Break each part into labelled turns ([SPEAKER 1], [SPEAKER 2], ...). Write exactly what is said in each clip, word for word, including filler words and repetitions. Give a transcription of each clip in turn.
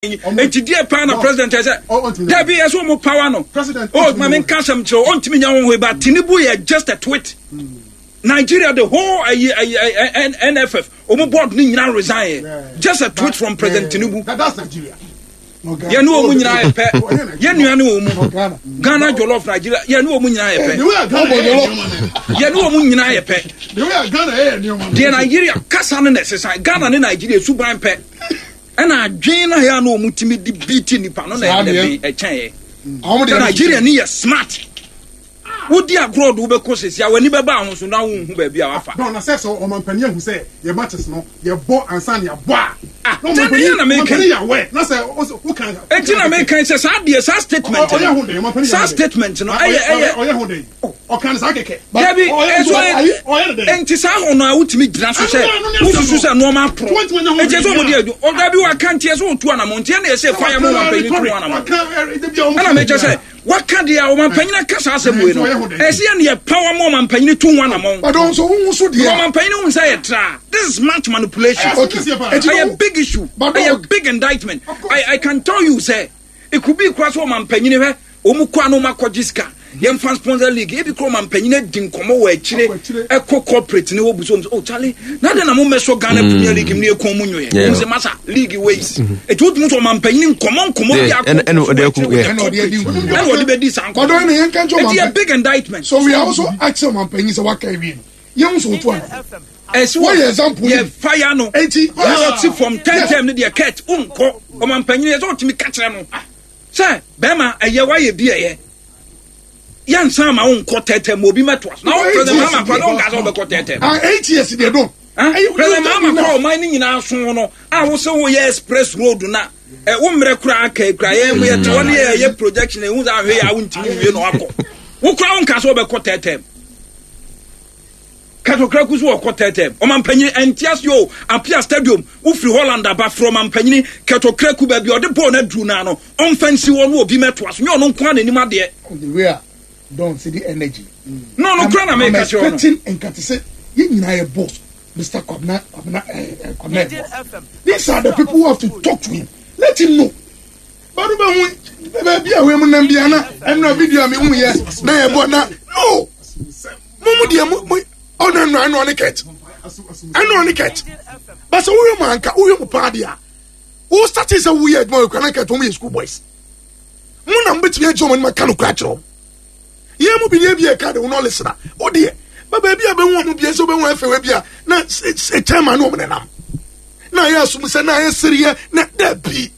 [SPEAKER 1] Eti deɛ paa na president ɛsɛ dabi ɛsɛ ɔmo power no. O maame nka asɛm kyerɛ ɔntumi nya wɔn ho ba. Tinubu yɛ just a tweet. Nigeria, the whole ayi ayi N F F ɔmo board ni nyinaa resign yɛ, just a tweet from President Tinubu. Yɛn ni wɔn nyinaa yɛ pɛ, yɛn nua ni wɔn mu Ghana jollof, Nigeria, yɛn ni wɔn nyinaa yɛ pɛ, yɛn ni wɔn nyinaa yɛ pɛ. Deɛ Nigeria kasa no na ɛsesa Ghana ne Nigeria suban pɛ, ɛna adwene na yɛ a na wɔn tumi di beat nipa no na ɛyɛ dɛ ɛkyɛn yɛ sɛ Nigeria ni yɛ smart. Wodi agorɔ de wobɛkɔ sisi a w'ani bɛba ahosuo na wonhu baabi a wafa.
[SPEAKER 2] Dɔn na sɛ sɛ ɔmampanin ahu sɛ yɛ matches no yɛ bɔ ansa ne yɛbɔ a.
[SPEAKER 1] Ah, tɛni yɛ na meka.
[SPEAKER 2] Ɔmampanin yɛ awɛ na sɛ woka.
[SPEAKER 1] Eti na meka sɛ saa deɛ, saa statement no, saa statement no ɛyɛ ɛyɛ.
[SPEAKER 2] Ɔyɛ ho den, ɔka ne saa kɛkɛ.
[SPEAKER 1] Dabi, ɛso nti saa hɔ no a wotumi gyina so sɛ wosusu sɛ nneɛma aporo eti ɛsɛ ɔmo di adu ɔdabi waka nti ɛsɛ otu anamɔ nti ɛna ɛsɛ fire mu ɔmampanin tu anamɔ. Ɛna meka sɛ waka deɛ a ɔmampanin aka saa asɛm wei no, ɛsɛ yɛ ne yɛ power mu ɔmampanin tu ho anamɔ.
[SPEAKER 3] Ɔdɔn so wohu so deɛ.
[SPEAKER 1] Ɔmampanin hu sɛ yɛ tra, this is smart manipulation.
[SPEAKER 3] Okay,
[SPEAKER 1] ɛyɛ big issue, ɛyɛ big indictment. I I can tell you sɛ it could be kura sɛ ɔmampanin hwɛ wɔn kɔ a na wɔn akɔgye sika yɛmfa sponsor league, ebi kura ɔmampanin adi nkɔmɔ wɔ akyire ɛkɔ corporate ne wɔ buso wɔn sɛ, "Oh Charlie, na de na mo mɛsɔ Ghana Premier League mu ne ekɔn mu nyoyɛ?" Wɔn sɛ, "Masa, league wei etu wotum sɛ ɔmampanin nkɔmɔ nkɔmɔ bi akɔ
[SPEAKER 4] ɛna ɔde akɔ
[SPEAKER 1] ɛna ɔde bɛ di saa nkɔmɔ.
[SPEAKER 3] Ɔdɔn na yɛn kan kyɛ.
[SPEAKER 1] Eti yɛ big indictment.
[SPEAKER 3] So we are also asking ɔmampanin sɛ waka ewie no, yɛn nso otu ana.
[SPEAKER 1] Ɛsi
[SPEAKER 3] wɔ yɛ example.
[SPEAKER 1] Yɛ fire no.
[SPEAKER 3] Eti
[SPEAKER 1] yɛ from ten term ne deɛ kɛt nkɔ ɔmampanin yɛ sɛ ɔtumi kakyerɛ no sɛ bɛrima ɛyɛ wayɛ bi, ɛyɛ yɛnsan ma wo nkɔ tɛtɛ ma obi mɛtoa so na wo President Mahama kora na wonka sɛ wobɛkɔ tɛtɛ.
[SPEAKER 3] Ah, eight years deɛ dɔn.
[SPEAKER 1] President Mahama kora, ɔman no nyinaa so no a wo sɛ woyɛ express road na wo mmerɛ koraa ka kura yɛn mu yɛte hɔ ne yɛyɛ projection ɛhu sɛ ahwɛ yɛ a wontumi nwie na wakɔ. Wo kora wonka sɛ wobɛkɔ tɛtɛ. Katokraku so wɔkɔ tɛtɛ. Ɔmampanyini ɛnte ase o. Apia Stadium wofiri Holland aba frɛ ɔmampanyini Katokraku baabi ɔde bɔɔl no aduru naa no, ɔmfa nsi hɔ no, obi mɛtoa so nyɛ ɔno nko a n'anim adeɛ.
[SPEAKER 3] The way a don say the energy.
[SPEAKER 1] No no kura na meka kyerɛ no.
[SPEAKER 3] I'm expecting nkate sɛ yɛn nyinaa yɛ boss, Mister Kwabena Kwabena eh, eh, Kwabena Ebo. These are the people who have to talk to him, let him know. Badu bɛ hu baabi a wei mu nam bi ana ɛnura video a mi hu yɛ na yɛ bɔ na no mo mu deɛ mo mo ɔno ɛnura ɛnura ne kɛt ɛnura ne kɛt basa woyɛ mu anka woyɛ mu paa deɛ a wo start sɛ woyɛ adwuma wɔ kura na kɛt wɔn yɛ school boys mo na mo bɛtumi agye wɔn anim aka no kura kyerɛ wɔn. Yɛn mu bi ne ebi yɛ ka de wɔn ɔlesra o deɛ ba baabi a bɛhu wɔn bi sɛ wɔbɛhu afɛwɛ bi a na chairman ne wɔn nenam na ayɛ asom sɛ na ayɛ sereɛ na dabi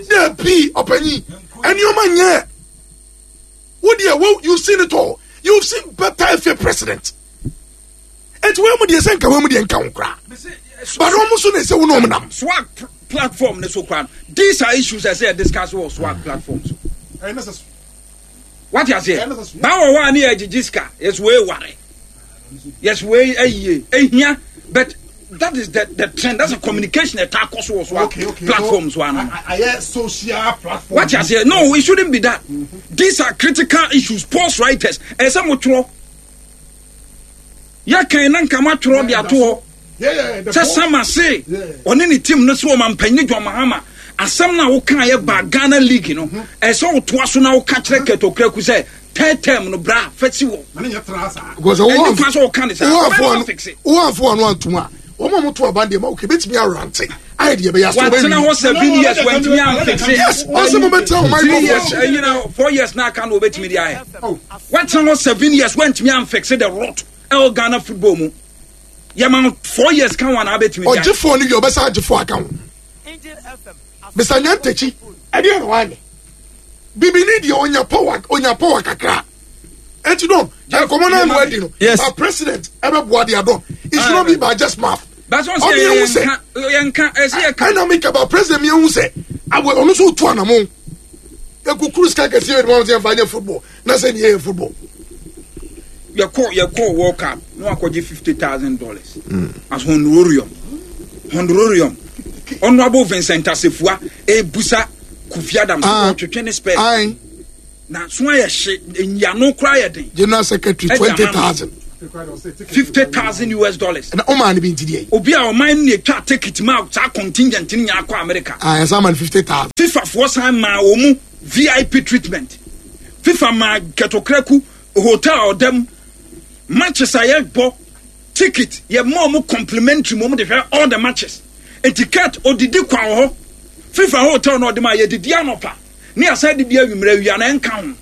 [SPEAKER 3] dabi ɔpanyin ɛnneɛma nyɛ wo deɛ wo you seen it all, you seen better F A president. Eti wɔn mu deɛ sɛ nka wɔn mu deɛ nka ho koraa, but wɔn nso na ɛsɛ wɔn na wɔn nam.
[SPEAKER 1] Swag platform ne so koraa no, these are issues ɛsɛ yɛ discuss wɔ swag platform so. Wate aseɛ? Báwo wɔ hɔ a ne yɛ gyegye sika, yɛsɛ wei ware, yɛsɛ wei ayie ehia, but that is the the trend, that's a communication ɛta akɔ so wɔ so a platform so ano.
[SPEAKER 2] Ayɛ social platform.
[SPEAKER 1] Wate aseɛ? No, it shouldn't be that. These are critical issues. Sports writers, ɛsɛ mo twerɛ yɛkan na nka mo atwerɛ de ato hɔ sɛ sama se ɔne ne team no sɛ ɔmampanyin John Mahama asɛm no a woka yɛ ba Ghana league no, ɛsɛ wotoa so na woka kyerɛ Kɛtɔkraku sɛ third term no bra fɛsi wɔ
[SPEAKER 3] because
[SPEAKER 1] ɛni kwan sɛ woka ne saa.
[SPEAKER 3] Wɔn afɔ ano antum a wɔn a wɔto aban deɛ ma okay betumi arante ayɛ deɛ ɛbɛyɛ aso.
[SPEAKER 1] Watena hɔ seven years wantumi amfixe.
[SPEAKER 3] Yes, ɔsɛ mo bɛ tena wɔn
[SPEAKER 1] three years ɛyina four years na aka na obetumi de ayɛ. Watena hɔ seven years wantumi amfixe the rot ɛwɔ Ghana football mu. Yɛma four years kan wa na abɛtumi de ayɛ.
[SPEAKER 3] Ɔgye four ni wie, ɔbɛsa agye four aka ho. Mister Nyantakyi ɛdeɛ na wanyɛ bibini deɛ onya power, onya power kakra. Eti dɔn nkɔmɔ naa no adi no.
[SPEAKER 4] Yes.
[SPEAKER 3] Ba president ɛbɛ boa deɛ dɔn, it should not be by just mouth.
[SPEAKER 1] That's what
[SPEAKER 3] ɔmi ehu sɛ
[SPEAKER 1] yɛnka ɛsɛ yɛka.
[SPEAKER 3] Ɛna mi kaba president mi ehu sɛ awɔ ɔno nso tu anamɔ ekukuru sika kɛseɛ yɛ de wɔn sɛ nfa nyɛ football na sɛ ni yɛ football.
[SPEAKER 1] yɛkɔ yɛkɔ World Cup na wakɔgye fifty thousand dollars as honorarium honorarium Honourable Vincent Asefua ebusa Kofi Adams
[SPEAKER 3] Ah.
[SPEAKER 1] ɔtwetwe ne spare
[SPEAKER 3] Ayi.
[SPEAKER 1] na so ayɛ hye nyiano koraa yɛ den.
[SPEAKER 3] General secretary
[SPEAKER 1] Ɛdi
[SPEAKER 3] twenty
[SPEAKER 1] ama no.
[SPEAKER 3] thousand.
[SPEAKER 1] fifty thousand US dollars.
[SPEAKER 3] Na ɔmaa no bi nti deɛ.
[SPEAKER 1] Obi a ɔman no etwa ticket ma saa contingent ni nya akɔ America.
[SPEAKER 3] Ah, yɛsan ma no fifty thousand.
[SPEAKER 1] FIFA foɔ san maa wɔn mu V I P treatment. FIFA maa Kurt Okraku hotel ɔdɛm matches a yɛbɔ ticket yɛ mɔ ɔmo complimentary mo ɔmo de hwɛ all the matches. Eti Kurt odidi kwan wɔ hɔ. FIFA hotel na ɔde ma yɛ didi anɔpa ne asa didi awimmerɛ awia na ɛnka ho.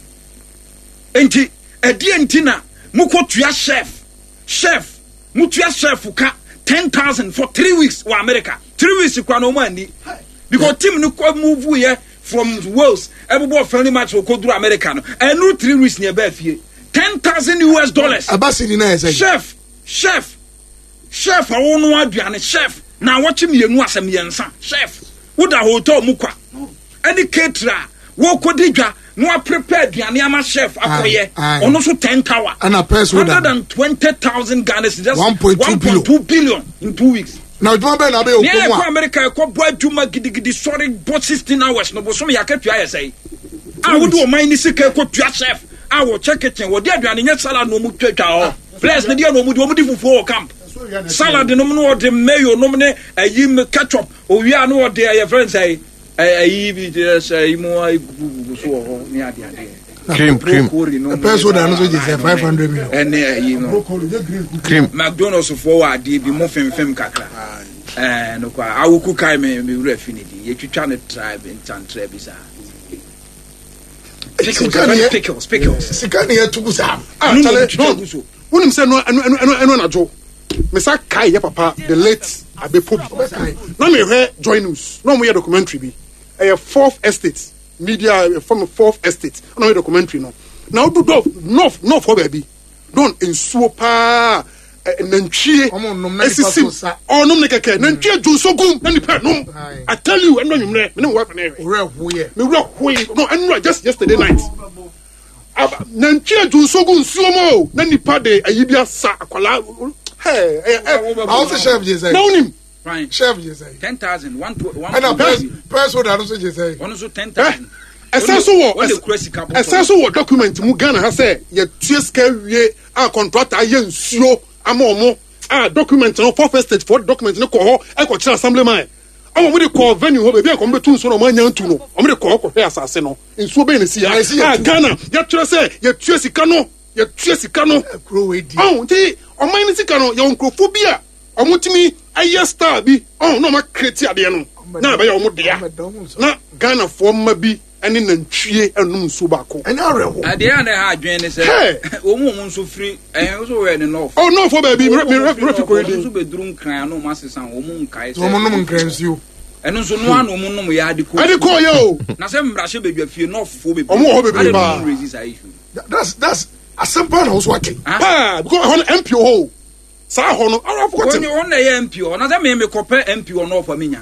[SPEAKER 1] Enti ɛdeɛ nti na mokɔ tua chef chef mutua chef ka ten thousand for three weeks wɔ America. Three weeks kura na ɔmo ani because team no kɔ move yɛ from Wales ɛbobɔ friendly match wɔ kɔduru America no ɛnu three weeks ni ɛbɛɛ fie ten thousand U S dollars.
[SPEAKER 3] Abasiri na ɛsɛ.
[SPEAKER 1] Chef chef chef awo no aduane chef na wɔkye mmienu asɛm yɛnsa chef woda hotel mu kwa ɛne caterer wɔkɔdi dwa no a prepare aduane ama chef akɔyɛ ɔno so ten tower
[SPEAKER 3] and
[SPEAKER 1] hundred and twenty thousand Ghana cedis,
[SPEAKER 3] one point two
[SPEAKER 1] billion in two weeks.
[SPEAKER 3] Na adwuma bɛn na abɛyɛ
[SPEAKER 1] okɔ mu a America ɛkɔ bɔ adwuma gidigidi sɔre bɔ sixteen hours no bosom yɛ akatua yɛ sɛe a wode ɔman ne sika ɛkɔ tua chef a wɔkyɛ kitchen wɔde aduane nyɛ salad na ɔmu twatwa hɔ players ne deɛ na ɔmu de ɔmu di fufuo wɔ camp salad nom no ɔde mayo nom ne ayi ketchup owia no ɔde ɛyɛ friend sɛe ayi bi sɛ mu agugugu so wɔ hɔ ne ade ade
[SPEAKER 3] cream cream peso da no so gye five hundred million
[SPEAKER 1] ɛne ayi no
[SPEAKER 4] cream
[SPEAKER 1] McDonald's fo wɔ ade bi mo femfem kakra eh no kwa awoku kai me me wura fi ne di yɛtwitwa ne tribe ntantra bi saa pickles pickles pickles
[SPEAKER 3] sika ne yɛtugu saa
[SPEAKER 2] ah chale no wonim sɛ no ɛno ɛno ɛno anadwo mesa kai yɛ papa the late Abepo bi na mehwɛ Joy News na ɔmo yɛ documentary bi ɛyɛ Fourth Estate media from Fourth Estate na ɔmo yɛ documentary no na odu dɔf north north hɔ baabi don nsuo paa nantwie esisi ɔnom ne kɛkɛ nantwie dwonso gum na nipa nom. I tell you ɛnu anwummerɛ me ne wife na ɛhwɛ me wura hoye no ɛnu just yesterday night nantwie dwonso gu nsuo mu o na nipa de ayi bi asa akwalaa. Hey, hey, hey.
[SPEAKER 3] I also chef Jay.
[SPEAKER 2] No him.
[SPEAKER 3] Chef Jay.
[SPEAKER 1] Ten thousand one two one.
[SPEAKER 3] And a person person that also Jay.
[SPEAKER 1] One also ten thousand.
[SPEAKER 2] Essential wo. Essential wo document mu Ghana ha say ye tue sika wie a contractor ye nsuo ama omo a document no fourth estate for document no ko ho e ko kire assembly man. Omo mo de ko venue ho baby e ko mbetu nsuo no omo anya ntu no. Omo de ko ko hwe asase no. Nsuo be ne si ya. Ah Ghana ye tue say ye tue sika no. Ye tue sika no. Oh, nti ɔman ne sika no yɛ nkurɔfoɔ bi a ɔmo tumi ayɛ star bi ɔn na ɔmo akreti adeɛ no na ɛbɛyɛ ɔmo dea na Ghanafoɔ mma bi ɛne nantwie ɛnum nsuo baako.
[SPEAKER 3] Ɛnyɛ awerɛho.
[SPEAKER 1] Adeɛ a na ɛha adwene ne sɛ wɔn mu wɔn nso firi ɛyɛ nso wɔ ne nɔɔfo.
[SPEAKER 2] Ɔ nɔɔfo baabi mi mi mi fi kori
[SPEAKER 1] di. Wɔn nso bɛduru nkran ano wɔn asesa wɔn mu nkae sɛ.
[SPEAKER 3] Wɔn nom nkran nsuo.
[SPEAKER 1] Ɛno nso noa na wɔn nom yɛ ade kɔ.
[SPEAKER 2] Ade kɔ yɛ o.
[SPEAKER 1] Na sɛ mmarahyɛ badwa fie nɔɔfofoɔ bebree.
[SPEAKER 2] Ɔmo wɔ hɔ bebree paa.
[SPEAKER 3] That's that's asɛmpa na woso ake.
[SPEAKER 2] Paa because ɛhɔ no M P wɔ hɔ o saa hɔ no ara afɔ kɔtɛm.
[SPEAKER 1] Wɔn na ɛyɛ M P hɔ na sɛ mi mi kɔpɛ M P wɔ nɔɔfo mi nya.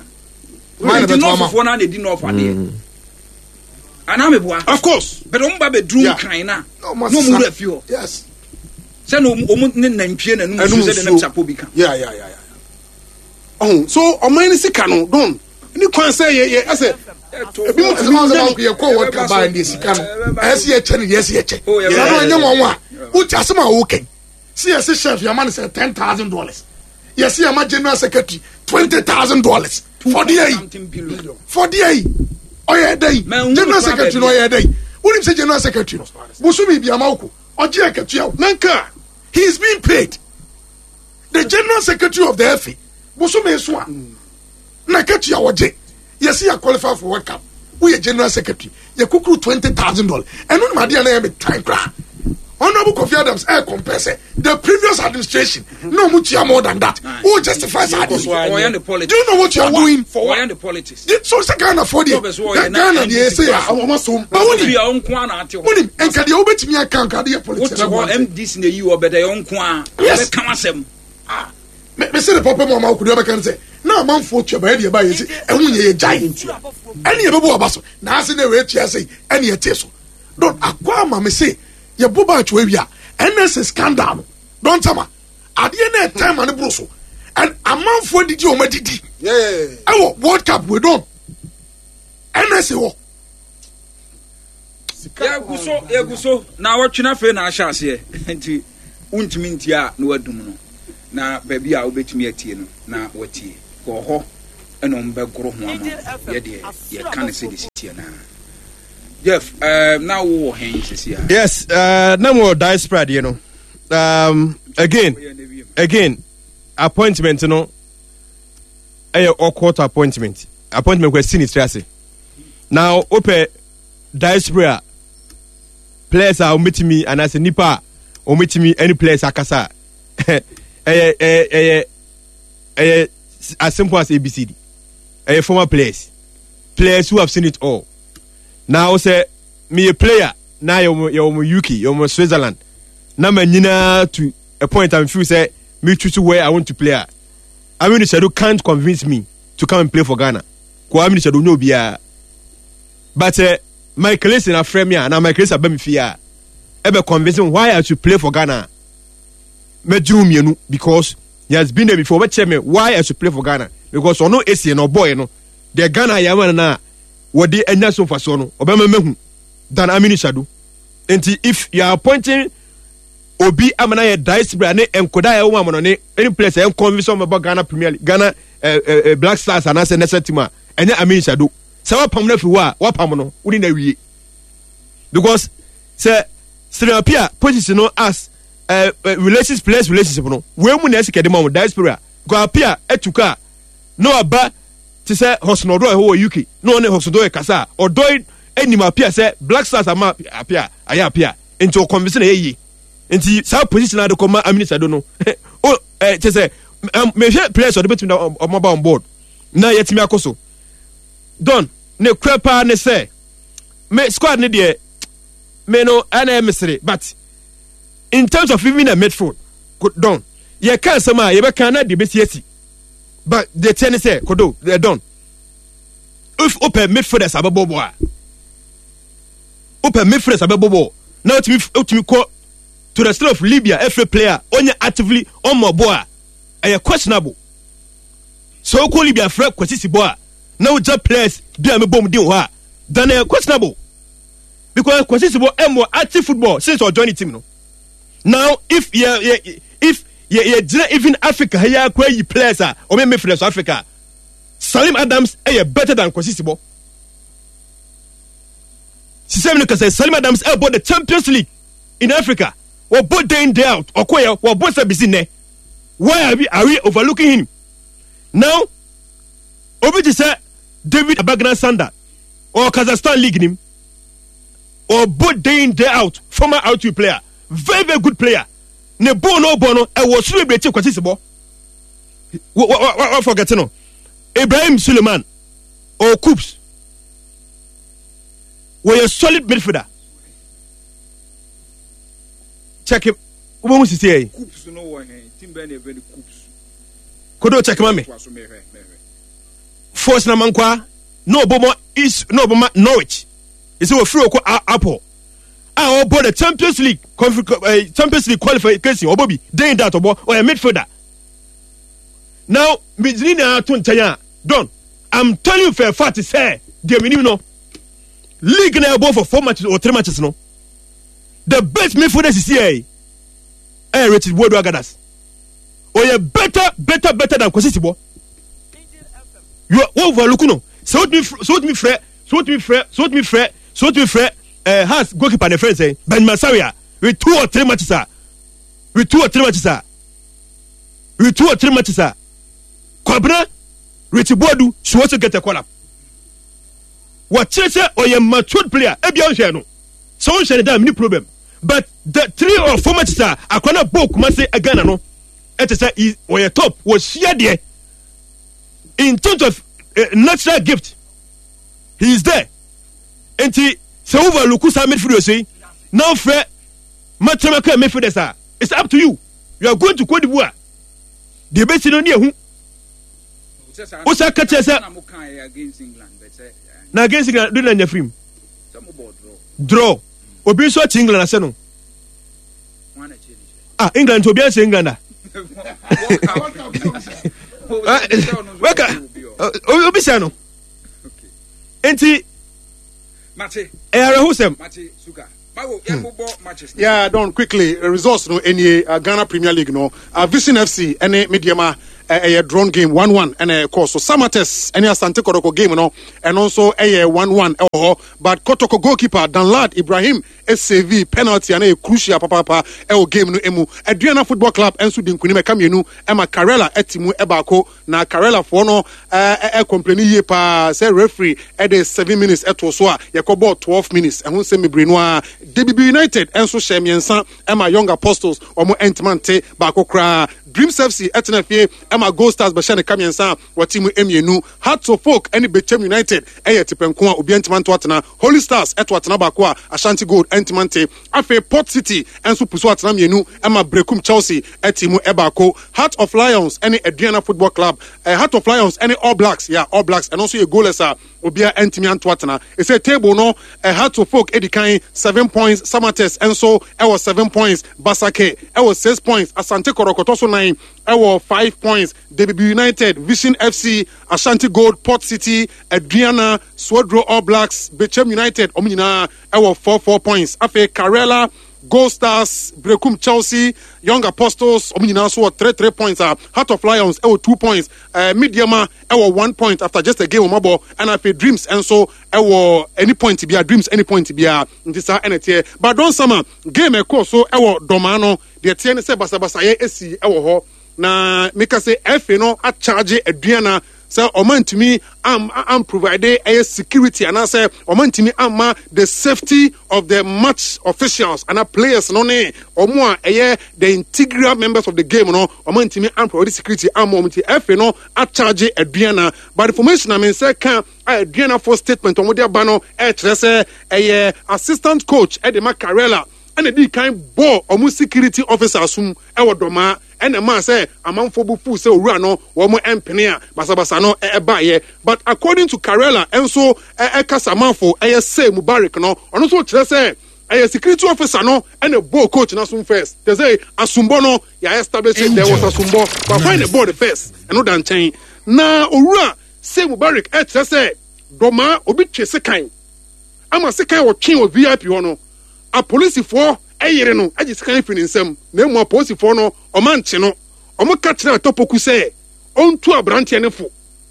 [SPEAKER 1] Nti nɔɔfofoɔ na na edi nɔɔfo adeɛ. Anaa mi bua.
[SPEAKER 2] Of course.
[SPEAKER 1] Bɛrɛ wɔn ba bɛ duru nkran na na wɔn wura fi hɔ.
[SPEAKER 3] Yes.
[SPEAKER 1] Sɛ na wɔn ne nantwie na enum nsuo sɛ de nam sapo bi ka.
[SPEAKER 2] Yeah yeah yeah yeah. Ɔhun so ɔman ni sika no don ni kwan sɛ yɛ yɛ ɛsɛ.
[SPEAKER 3] Ebi mu tumi nyɛ yɛ kɔ wɔ kaba ne sika no ɛsɛ yɛ kyɛ ne yɛ ɛsɛ yɛ kyɛ na no ɛnyɛ wɔn a wotu asɛm a wɔkɛn si yɛ si chef yɛ ma ne sɛ ten thousand dollars yɛ si yɛ ma general secretary twenty thousand dollars for the yi for the yi ɔyɛ ɛdɛ yi general secretary no ɔyɛ ɛdɛ yi wunim sɛ general secretary no bosomi bi ama woko ɔgye ɛkɛtua o nanka he is being paid the general secretary of the F A bosomi so a na kɛtua wɔgye. Yes, you are qualified for World Cup. We are general secretary. You could twenty thousand dollars. And no matter the time cry. Honorable Kofi Adams, I compare the previous administration. No much more than that. Who justifies that? Do you know what you are doing?
[SPEAKER 1] For what? The politics.
[SPEAKER 3] So it's Ghana for the Ghana. They say, but what do you? What do you? And can you obey me? I can't. Can you politics?
[SPEAKER 1] What M D C in the U or better?
[SPEAKER 3] Yes. Me say the papa mama could ever can say. Now man for you by the by and when you giant any abaso na ase na we tia say any eteso don akwa ma me say ye boba atwa N S A scandal don tama ade na time and bro so and amanfo didi o ma didi
[SPEAKER 2] yeah
[SPEAKER 3] eh World Cup we don N S A wo
[SPEAKER 1] ye guso ye guso na watwe na fe na ahya ase nti Wontumi ntie a na wadum no na baabi a wobɛtumi atie no na watie. Wɔ hɔ ɛna ɔmo bɛgoro ho ama yɛdeɛ yɛka no sɛde sitiɛ naa. Jeff, uh, na wowɔ hɛn sisi a?
[SPEAKER 4] Yes, uh, na mo diaspora deɛ no. Um, again, again, appointment no ɛyɛ awkward appointment. Appointment kɔ si ne tiri ase. Now, wopɛ diaspora players a wɔbɛtumi anaasɛ nipa a wɔbɛtumi ɛne players akasa a ɛyɛ ɛyɛ ɛyɛ ɛyɛ as simple as A B C D. Ɛyɛ former players, players who have seen it all. Now sɛ meyɛ player na yɛwɔ yɛwɔ mo U K, yɛwɔ mo Switzerland, na ma nyinaa to a point I'm feel sɛ me choose where I want to play a, Aminu Sadu can't convince me to come and play for Ghana. Ko Aminu Sadu nyɛ obiara, but uh, Michael Essien afrɛ me a na Michael Essien aba me fie a ɛbɛ convince me why I should play for Ghana, mɛgyere mmienu because he has been there before. Ɔbɛkyerɛ me why I should play for Ghana because ɔno Essien na ɔbɔɔyɛ no deɛ Ghana yɛ ama no na wɔde anya so mfasoɔ no ɔbɛma mahu than Aminu Sadu. Nti if you are appointing obi ama na yɛ diaspora ne nkoda a ɛwɔ mu ne any place a ɛn convince wɔn bɛbɔ Ghana Premier League, Ghana eh, eh, eh, Black Stars anaasɛ national team a, ɛnyɛ Aminu Sadu. Sɛ wapam no afiri hɔ a, wapam no wode na awie because sɛ Stephen Appiah position no as uh, uh, relations players relationship no wei mu na ɛsɛ kɛde ma wɔn diaspora because Appiah atu kaa na waba te sɛ Hudson Odoi hɔ wɔ U K na ɔne Hudson Odoi kasa a Odoi anim Appiah sɛ Black Stars ama Appiah ayɛ Appiah nti ɔconvince na ɛyɛ yie. Nti saa position ade kɔ ma Aminu Sado no o ɛ kyɛ sɛ mehwɛ players ɔde bɛtumi da ɔmo aba on board na yɛtumi akɔ so don ne kura paa ne sɛ me squad ne deɛ me no ɛna ɛyɛ mesere, but in terms of even a midfield don yɛka asɛm a yɛbɛka na deɛ bɛsi asi, but deɛ tiɛ ne sɛ kodo ɛ don if wopɛ midfielders abɛbɔ bɔ a, wopɛ midfielders abɛbɔ bɔ na wotumi wotumi kɔ to the state of Libya ɛfrɛ player ɔnyɛ actively ɔmmɔ bɔ a, ɛyɛ questionable. Sɛ wokɔ Libya frɛ Kwasi Sibɔ a na wogya players bi a mebɔ mu din wɔ hɔ a, then ɛyɛ questionable because Kwasi Sibɔ ɛmmɔ active football since ɔjoin the team no. Now if yɛ yɛ if yɛ yɛ gyina even Africa ha yɛ akɔ ayi players a ɔmo yɛ midfielders Africa, Salim Adams ɛyɛ better than Kwasi Sibɔ. Sisɛm no kasa, Salim Adams ɛbɔ the Champions League in Africa, wɔbɔ day in day out, ɔkɔ yɛ wɔbɔ sɛ bisi nɛ. Why are we are we overlooking him now? Obi te sɛ David Abagna Sanda ɔwɔ Kazakhstan league nim, ɔbɔ day in day out, former R two player, very very good player. Ne ball no ɔbɔ no ɛwɔ soro bebree kye Kwasi Sibɔ. Wɔ wɔ wɔ forget no Ibrahim Suleiman ɔwɔ KuPS, wɔyɛ solid midfielder. Check wobɛhu sisi yɛ yi.
[SPEAKER 1] KuPS no wɔ hɛn team bɛn na ɛfɛ no KuPS?
[SPEAKER 4] Kodo, check ma me.
[SPEAKER 1] Toa so, mehwɛ mehwɛ.
[SPEAKER 4] Force na mankwa na ɔbɔ ma is na ɔbɔ ma Norwich ɛsɛ wɔfiri ɔkɔ Apple a ɔbɔ the Champions League conf- eh, Champions League qualification, ɔbɔ bi day in that ɔbɔ, ɔyɛ midfielder. Now megyini na ato nkyɛn a, don I'm telling you for a fact sɛ deɛ menim no league na ɛbɔ for four matches or three matches no, the best midfielder sisi yɛ ɛyɛ Richard Boadu Agadas. Ɔyɛ better better better than Kwasi Sibɔ. You wọ́n overlook no. Sɛ wotumi sɛ wotumi frɛ sɛ wotumi frɛ sɛ wotumi frɛ sɛ wotumi frɛ ɛɛ Hearts goalkeeper ne frɛ sɛ Benjamin Asare with two or three matches a with two or three matches a with two or three matches a Kwabena Richard Boadu should also get a call up. Wɔkyerɛ sɛ ɔyɛ matured player. Ebi ɔnhwɛ no sɛ ɔnhwɛ ne dan ni problem, but the three or four matches a akwa na bɔ Kumase Ghana no ɛte sɛ ɔyɛ top. Wɔhyia deɛ in terms of uh, natural gift, he is there. Nti sɛ overlook saa midfielders yi na ɔfrɛ matamaka midfielders a, it's up to you. You are going to Cote d'Ivoire deɛ ebesi no ne ehu wosa kakyɛ sɛ na against England do na nya firim draw. Obi nso akyi England asɛ no ah England nti obi anhyɛ England a wɛka obi sɛ no nti ɛyɛ awerɛhosɛm.
[SPEAKER 1] Mago, yɛbobɔ matches.
[SPEAKER 2] Yeah, Don, quickly, uh, results no any uh, Ghana Premier League no. Uh, Vision F C ɛne Medeama ɛyɛ uh, drawn game one one ɛna ɛkɔ so. Samartex ɛne Asante Kotoko game no, ɛno nso ɛyɛ one one ɛwɔ hɔ. But Kotoko goalkeeper Danlad Ibrahim ɛsave penalty ana ɛyɛ crucial papaapa ɛwɔ game no emu. Aduana Football Club ɛnso di nkunim ɛka mmienu ɛma Karela ɛte mu ɛbaako, na Karela foɔ no ɛɛ ɛ complain yie paa sɛ referee ɛde seven minutes ɛto so a yɛkɔ bɔɔ twelve minutes. Ɛho nsɛm bebree no a D B B United ɛnso hyɛ mmiɛnsa ɛma Young Apostles, wɔn ɛntoma nte baako koraa. Dreams F C ɛtena fie ɛma Gold Stars bɛhyɛ ne ka mmiɛnsa a wɔte mu mmienu. Hearts of Oak ɛne Bechem United ɛyɛ tipɛnko a obiara ntoma nto atena. Holy Stars ɛto atena baako a Ashanti Gold ɛntoma nte. Afei Port City ɛnso puso atena mmienu ɛma Brekum Chelsea ɛte mu ɛbaako. Heart of Lions ɛne Aduana Football Club, ɛɛ Heart of Lions ɛne All Blacks, yeah, All Blacks, ɛno nso yɛ goalless a obiara ɛntumi anto atena. Ɛsɛ table no, ɛ Hearts of Oak edi kan seven points, Samartex ɛnso ɛwɔ seven points, Basake ɛwɔ six points, Asante Kɔtɔkɔ so nine ɛwɔ five points. D B B United, Vision F C, Ashanti Gold, Port City, Aduana, Swedru All Blacks, Bechem United, ɔmo nyinaa ɛwɔ four four points. Afei Karela, Gold Stars, Brekum Chelsea, Young Apostles, ɔmo nyinaa nso wɔ three three points a Heart of Lions ɛwɔ two points, ɛɛ Medeama ɛwɔ one point after just a game ɔmo abɔ, ɛna afei Dreams ɛnso ɛwɔ any point bia, Dreams any point bia. Nti saa ɛna teɛ. But Don Sama, game ɛkɔɔ so ɛwɔ Dɔmaa no deɛ, teɛ ne sɛ basabasayɛ esi ɛwɔ hɔ, na mika sɛ F A no akyagye Aduana sɛ ɔma ntumi am am provide ɛyɛ security anaasɛ ɔma ntumi ama the safety of the match officials ana players no ne ɔmo a ɛyɛ the integral members of the game no, ɔma ntumi am provide security ama ɔmo. Nti F A no akyagye Aduana, but information na me nsa ka a Aduana for statement ɔmo de aba no ɛkyerɛ sɛ ɛyɛ assistant coach ɛde ma Karela ɛna di kan bɔɔ ɔmo security officer sum ɛwɔ Dɔmaa, ɛna maa sɛ amanfoɔ bu fu sɛ owura no wɔn mpene a basabasa no ɛbaayɛ. But according to Karela ɛnso ɛkasa amanfo ɛyɛ sɛ Mubarak no, ɔno nso kyerɛ sɛ ɛyɛ security officer no ɛna bɔɔ coach na som first te sɛ asombɔ no yɛ establish there was asombɔ, but find the ball first ɛno da nkyɛn. Na owura sɛ Mubarak ɛkyerɛ sɛ Dɔmaa obi twe sekan ama sekan wɔtwe wɔ V I P hɔ no, apolisifoɔ ɛyere no agye sekan firi ne nsam, na emu apolisifoɔ no ɔma nkye no, ɔmo ka kyerɛ Atɔpoku sɛ ɔntu aberanteɛ no fo.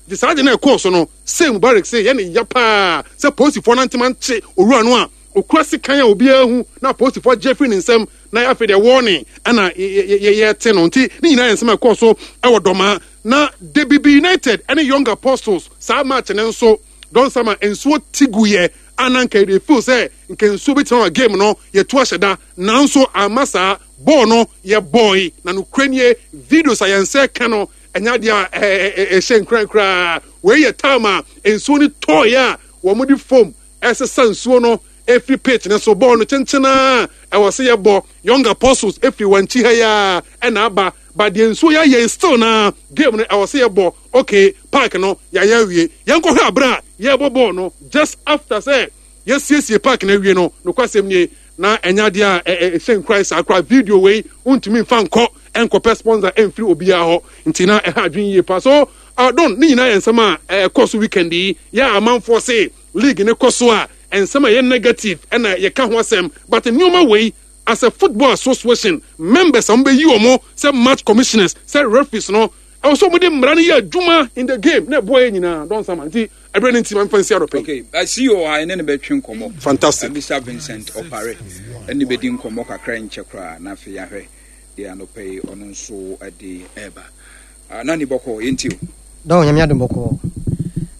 [SPEAKER 2] Nti saa de na ɛkɔɔ so no, sɛ Mubarak sɛ yɛ ne ya paa sɛ polisifoɔ no antema nkye owura no a okura sekan a obiara hu na apolisifoɔ gye firi ne nsam, na afei deɛ wɔɔne ɛna yɛte no. Nti ne nyinaa yɛ nsɛm a ɛkɔɔ so ɛwɔ Dɔmaa. Na D B B United ɛne Young Apostles saa match ne nso, Don Sama, nsuo ti gu yɛ ana nka yɛde feel sɛ nka nsuo bi tena wɔ game no yɛtu ahyɛ da, nanso ama saa bɔɔl no yɛ bɔɔl na nokura nie, videos a yɛn nsa ka no ɛnyɛ adeɛ a ɛhyɛ nkuran koraa. Wei yɛ time a nsuo no tɔɔyɛ a wɔn de foam ɛsesa nsuo no efiri pitch ne so. Bɔɔl no kyenkyen a ɛwɔ sɛ yɛbɔ, Young Apostles efiri wɔn akyi ha yi a ɛna aba, but deɛ nsuo yɛ ayɛ still na game no ɛwɔ sɛ yɛbɔ. Okay, park no yɛayɛ awie, yɛn kɔhwɛ abere a yɛbɔ bɔɔl no just after sɛ yɛsiesie park no awie no. Nokwasɛm nie, na ɛnyɛ adeɛ a ɛhyɛ nkuran saa koraa. Video wei ntumi nfa nkɔ nkɔpɛ sponsor ɛmfiri obiara hɔ, nti na ɛha adwene yie pa so. uh, Don, ne nyinaa yɛ nsɛm a ɛkɔ so weekend yi. Yɛ amanfoɔ se league ne kɔ so a, nsɛm a ɛyɛ negative ɛna yɛka ho asɛm, but nneɛma wei as a football association members a wɔbɛyi wɔn sɛ match commissioners, sɛ referees no, ɛwɔ sɛ wɔde mmara no yɛ adwuma in the game na ɛboa yɛ nyinaa. Don Sama, nti ɛberɛ no nti ma mfa nsi adɔpɛ.
[SPEAKER 1] Okay, I see you. Ha ɛne ne bɛtwe nkɔmmɔ.
[SPEAKER 2] Fantastic.
[SPEAKER 1] Mister Vincent Ɔpare ɛne bɛdi nkɔmmɔ kakra nkyɛ koraa, na afei ahwɛ deɛ anɔpɛ yi ɔno nso de ɛreba. Ah, na ne bɔkɔ yɛnti o.
[SPEAKER 5] Don, Nyame adom, bɔkɔɔ.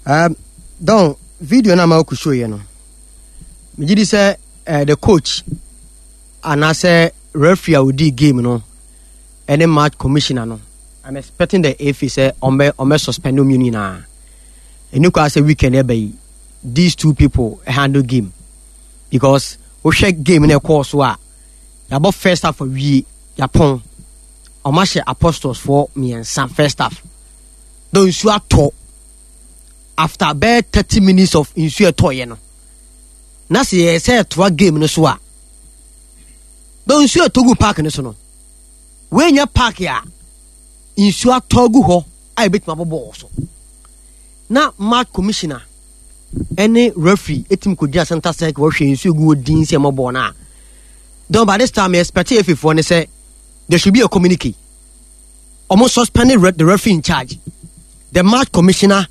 [SPEAKER 5] um, don video no a ma wokɔ show yɛ no, megye di sɛ uh, the coach anaasɛ referee a odii game no ɛne match commissioner no, I'm expecting the F A sɛ ɔmbɛ ɔmbɛ suspend ɔmmienu nyinaa. Ɛni kɔ sɛ weekend ɛbɛ yi these two people handle game, because wohwɛ game no ɛkɔɔ so a, yɛabɔ first half awie, yɛapɔn, ɔmo ahyɛ Apostles foɔ mmiɛnsa first half. Na nsuo atɔ after bɛɛ thirty minutes of nsuo ɛtɔɔyɛ no, na sɛ yɛ sɛ ɛtoa game no so a, na nsuo ɛtɔ gu park no so no, wɔanya park a nsuo atɔ gu hɔ a yɛbɛtumi abɔ bɔɔl so, na match commissioner ɛne referee ɛtumi kɔgyina center circle wɔhwɛ nsuo gu hɔ din sɛ ɛmɔ bɔɔl no a Don, by this time, I expect F A foɔ ne sɛ there should be a communique. Ɔmo suspended the referee in charge, the match commissioner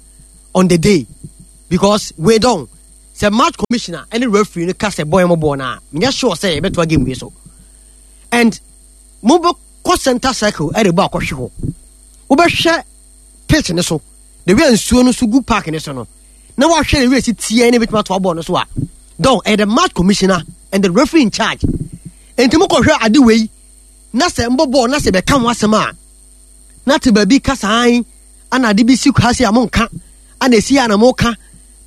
[SPEAKER 5] on the day, because we don't. Sɛ match commissioner ɛne referee no ka sɛ bɔɔl mo bɔɔl na menyɛ sure sɛ yɛbɛtoa game wei so. And mo bɛ kɔ center circle ɛde bɔ akɔhwe hɔ. Wobɛhwɛ pitch ne so, the way nsuo no so gu park ne so no, na wahwɛ the way si tie ne bɛtumi atoa bɔɔl no so a, don ɛyɛ the match commissioner and the referee in charge. Nti mo kɔhwɛ ade wei na sɛ mbɔ bɔɔl na sɛ bɛka ho asɛm a, na te baabi kasa an ana ade bi si ha se a mo nka, ana esi a na mo ka,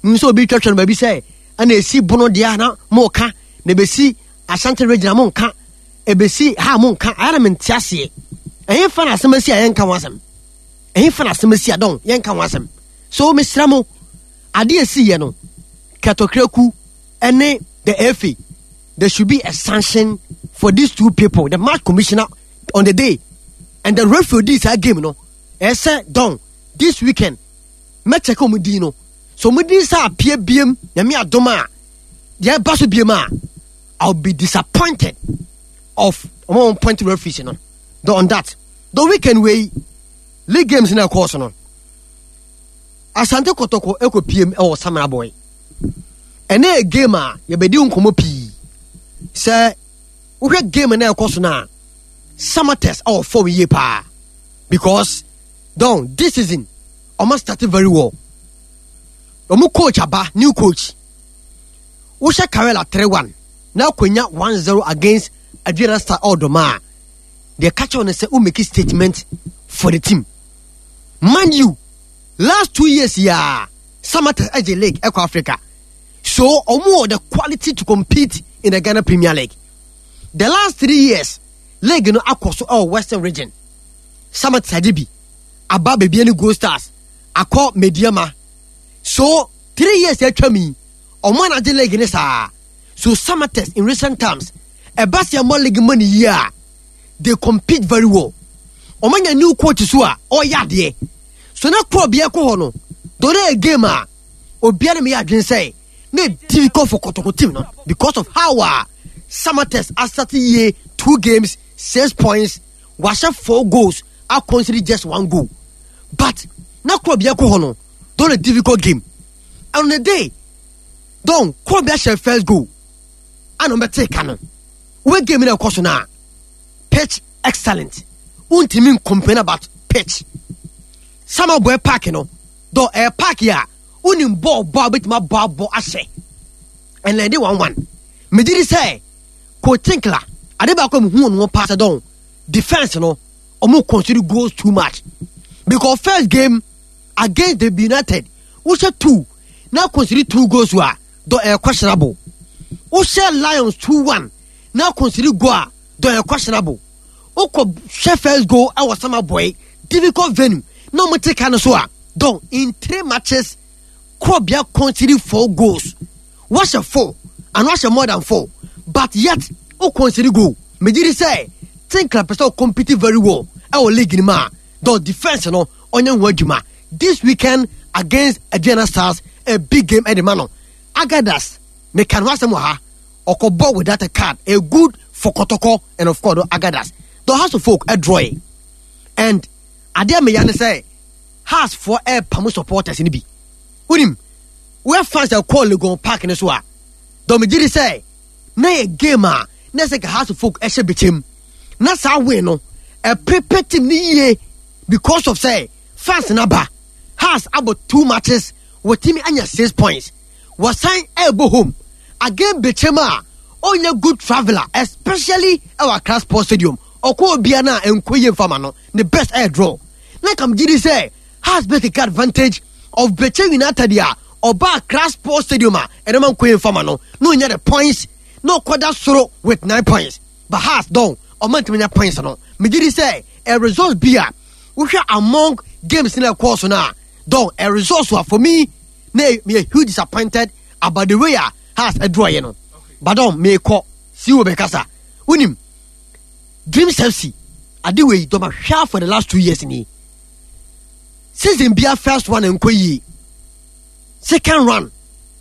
[SPEAKER 5] nso obi twɛtwɛ no baabi sɛ ana esi bono deɛ na mo ka, na ebesi Ashanti region mo nka, ebesi ha mo nka. Ayɛ na mente aseɛ. Ɛyɛ fa na asɛm asi a yɛnka ho asɛm. Ɛyɛ fa na asɛm asi a dɔn yɛnka ho asɛm. So mesrɛ mo, ade esi yɛ no, Kɛtɔkraku ɛne the F A, there should be a sanction for these two people, the match commissioner on the day and the referee this game no. Ɛsɛ dɔn this weekend mɛkyɛ kɛ ɔmo din no. So ɔmo din sɛ apue biem na mi adom a deɛ ɛba so biem a, I'll be disappointed of ɔmo point referees no. The on that the weekend wey league games na ɛkɔɔ so no, Asante Kotoko ɛkɔ piem ɛwɔ Samreboi. Ɛnɛ yɛ game a yɛbɛdi nkɔmɔ pii. Sɛ wohwɛ game na ɛkɔ so na Samatex ɛwɔ form yie paa, because don this season ɔmo started very well. Ɔmo coach aba, new coach. Wohyɛ Karela three one na akonya one zero against Aduana Star Odoma. They catch on and say, who make a statement for the team. Mind you, last two years, yeah, Samatex Edge League, Eco Africa. So, omo the quality to compete in the Ghana Premier League. The last three years, league no akɔ so ɛwɔ Western region. Samatex Adibi, Aba Bibiani Gold Stars, akɔ Mediama. So, three years atwa mi, omo na agye league ne saa. So, Samatex in recent times, Ebasia mo league money year, they compete very well. Omo nya new coach so a, oya de. So na ko bia ko ho no, do na game a obi na me adwen say na difficult for Kotoko team no, because of how a Samatex asate ye two games, six points, wahyɛ four goals, a concede just one goal. But na ko bia ko ho no, do na difficult game. And on the day, don ko bia hyɛ first goal. Ana me take no. We game na ko so na pitch excellent. Untimi complain about pitch. Samreboi Park no, do air park ya unim ball ball bit ma ball ball ahye. And then they one one. Me did say ko tinkla ade ba ko hu no pass don defense no omo consider goals too much. Because first game against the United, we share two. Now consider two goals were do air questionable. We share Lions two one. Now consider goal do air questionable. Oko share first goal I was Samreboi difficult venue. No mo take no so a don in three matches Krobia conceded four goals. What's a four? And what's a more than four? But yet o concede goal. Me did say Tinkler person compete very well. Our league ni ma the defense no onye ho adwuma. This weekend against Aduana Stars, a big game at the man. Agadas me can wasem ha okobo without a card. A good for Kotoko and of course Agadas. The House of Folk a draw. And ade me ya ne say House for air pamu supporters ni bi. Unim where fans are call Legon Park ne so a. Do me did say na ye game a na say House of Folk e hye bechem. Na sa we no e prepare team ni ye because of say fans na ba. House about two matches with team anya six points. Was sign elbow home again bechem a only good traveler, especially our Accra Sports Stadium. Oko obia na enko ye mfama no the best air draw. Na kam gidi say has been take advantage of Bechem United ya oba Accra Sports Stadium a ene man ko mfama no no nya the points no koda soro with nine points. But has don o man timi nya points no. Me gidi say a result bia we hwe among games in the course na don a result for me na me huge disappointed about the way a has a draw you know. But don me ko see wo be kasa. Unim Dreams F C ade we do ma hwa for the last two years ni. Season bia first one enko yi. Second run